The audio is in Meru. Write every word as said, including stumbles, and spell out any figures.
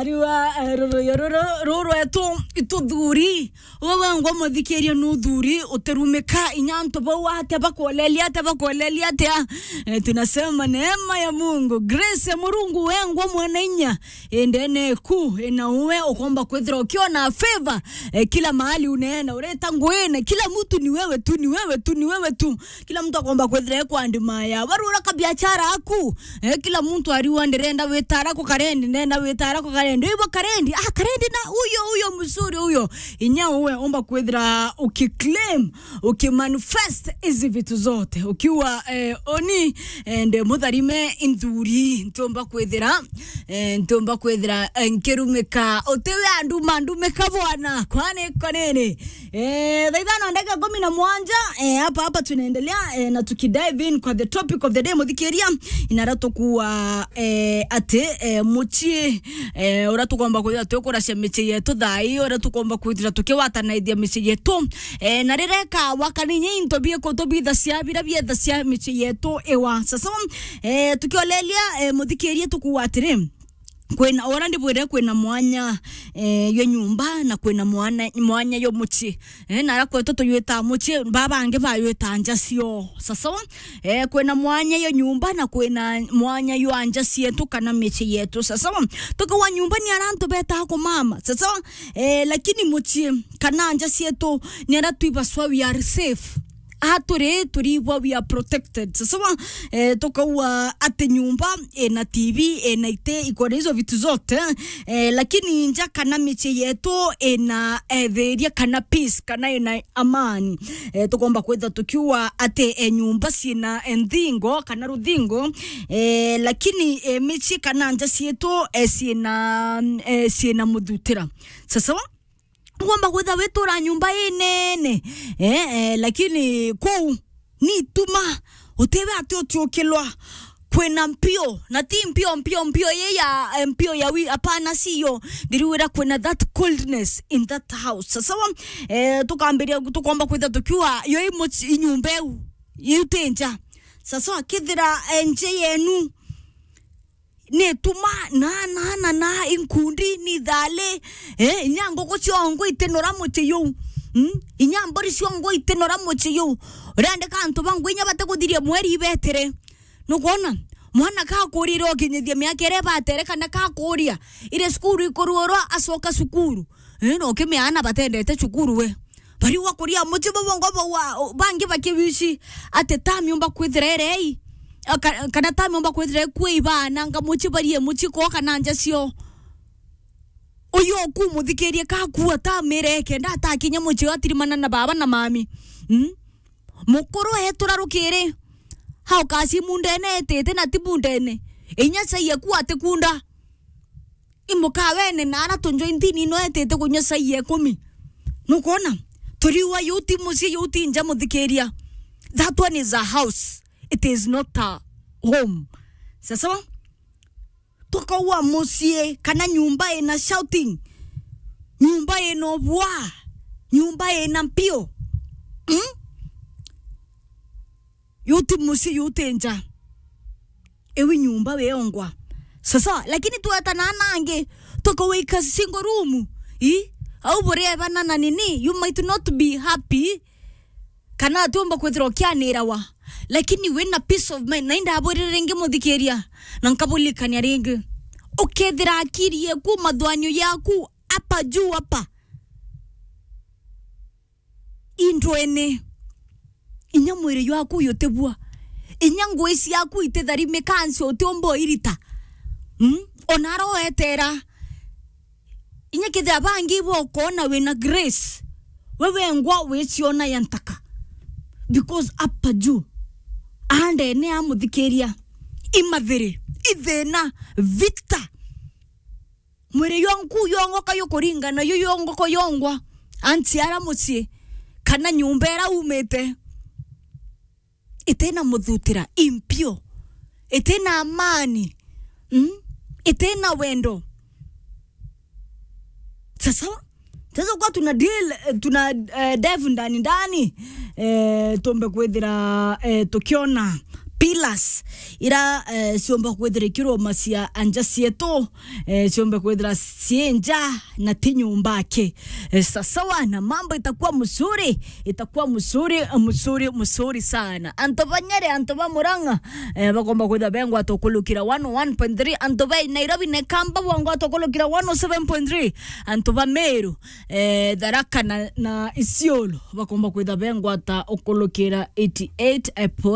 Riwa, eh, ruruyo ruru, ruru etu, ituthuri. Wewe ngwa muthikiria nuthuri, utirumika inya antu bau atia bakuolelia atia, bakuolelia atia. Eh, tunasema neema ya Mungu, grace ya Murungu, we ngwa mwana inya, indene ku, ina uwe, ukomba kwithira ukiona favor, eh, kila mahali uneena, ureta nguine, kila mtu ni wewe tu, ni wewe tu, ni wewe tu. Kila mtu akomba kwithira ekwandimaya. Warura kabiachara aku. Eh, kila mtu ariwa ndirenda witara ku karendi, ndirenda witara ku karendi. Ibo karendi, ah, karendi na huyo, huyo mzuri huyo. Inya uwe omba kwithira ukiclaim, ukimanifest hizi vitu zote. Ukiwa, eh, oni, eh, nde mutharime inthuri, ntiumba kwithira, eh, ntiumba kwithira, eh, nkirumika. Utiwe anduma, ndumika bwana. Kwani konene. Eh, thaa ithano ndagika kumi na mwanja, eh, hapa, hapa tunaendelea, eh, na tukidive in kwa the topic of the day, muthikiria, inara tukuwa, eh, ati, eh, mucii, eh, uria tukomba kwithira tukuracia micii yetu thaa ii, uria tukomba kwithira tukiwatanaithia micii yetu, eh, na rireka wakaninya into bieku tubithacia, bira biethacia micii yetu iwa. Sasa, eh, tukiolelia, eh, muthikiria tukuwa atiri, kwina, ora ndibwire kwina mwanya, eh, yo nyumba na kwina mwana, mwanya yo mucii. Eh, na ara kwetu tuywitaa mucii, baba bangi baywitaa nja cio. Sasa, eh, kwina mwanya yo nyumba na kwina mwanya yo anja cietu kana micii yetu. Sasa, tukiwa nyumba ni ara antu betaa kumama. Sasa, eh, lakini mucii kana nja cietu ni ara twibaswa we are safe. Aha turi, turigwa we are protected. Sasa, eh, tukaua ati nyumba ina T V, ina ite, iko na hizo vitu zote, eh, lakini nja kana micii yetu ina, eh, thiria kana peace, kana ina amani. Eh, tukomba kwitha tukiua ati, eh, nyumba ciina, eh, nthingo kana ruthingo, eh, lakini, eh, micii kana nja cietu, eh, ciina, eh, ciina muthutira. Sasa, ngomba kwitha witura nyumba inene, eh, eh, lakini kuu ni ituma, utiwe ati utiukilwa. Kwina mpio, na ti mpio, mpio, mpio ye ya, eh, mpio ya wi-, hapana, si yo. Ndiriwira kwina that coldness in that house. Sasa, eh, tukambiria, tukomba kwitha tukiua, yo i muci-, i nyumba iu, iu ti nja. Sasa, kithira, eh, nje yenu, ni tuma na, na, na, na inkundi, ni thali, eh, inya nguku ciongo itinora mucii juu. Mm? Inya mburi ciongo itinora mucii juu. Urendeka antu ba ngui inya batiguthiria mweri ibetire. Nukwona? Mwana kakurire ukinyithia miaka iria ibatere kana kakuria, iri cukuru ikuruurwa acoka cukuru. Eh, na ukimea ana batendete cukuru we. Bariua kuria mucii bau bongo bau wa, bangi bakiwici ati tami umba kwithira irei, a, ka-, kana tami umba kwithira ikue ibananga mucii barie mucii ko kana nja cio. Uyu ukumuthikirie kakua tami ire kenda atakinya mucii atirimana na baba na mami. Mm? Mukuru etura rukiri. Hau kasi mundene etite na ti mundene. Inya cai eku atikunda. I mukawene na ara tunjwa intini ino etite kunywa cai ya ikumi. Nukwona? Turiua yu ti mucii, yu ti nja, muthikiria. That one is a house. It is not a home. Sasa, tukaua mucii kana nyumba ina shouting. Nyumba ina ubua. Nyumba ina mpio. Mm? Yu ti mucii, yu ti nja. Iwi nyumba wiongwa. Sasa, lakini twetana nangi, tukawika single room. I? Au buriebana na nini, you might not be happy. Kana atiumba kwithirwa ukianirawa. Lakini wina peace of mind. Na indabwirire ringi muthikiria. Na nkabulikania ringi. Ukethira akiri yeku, mathwanio yaku, hapa juu hapa. Indwene. Inya mwiri jwaku jutibua. Inya ngui ciaku ititharimika nsi utiumba uirita. Mm? Ona ara uetera. Inya kethira bangi ibo ukona wina grace. We wengwa wiciona ya ntaka. Because hapa juu. Andene amuthikiria. Imathiri. Ithina. Vita. Mwiri jwanku yongoka yukuringana, yu yongoko yongwa. Anti ara mucii, kana nyumba ira umite, itina muthutira, impio, itina amani, mm? Itina wendo. Sasa, sasa kwa tuna deal, eh, tuna, eh, dive ndani ndani, eh, tumbe kwithira, eh, tukiona pillars ira, eh, ciomba kwithira ikirumacia anja cietu, eh, ciombe kwithira cii nja na ti nyumba aki. Eh, sasawa, na mambo itakuwa mzuri, itakuwa mzuri, mzuri, mzuri sana. Antu ba Nyeri, antu ba Murang'a, eh, bakomba kwithira bengwata ukulukira one oh one point three, antu ba Nairobi na Ikamba bongwata ukulukira one oh seven point three, antu ba Meru, eh, Tharaka na, na Isiolo bakomba kwithira bengwata ukulukira eighty eight point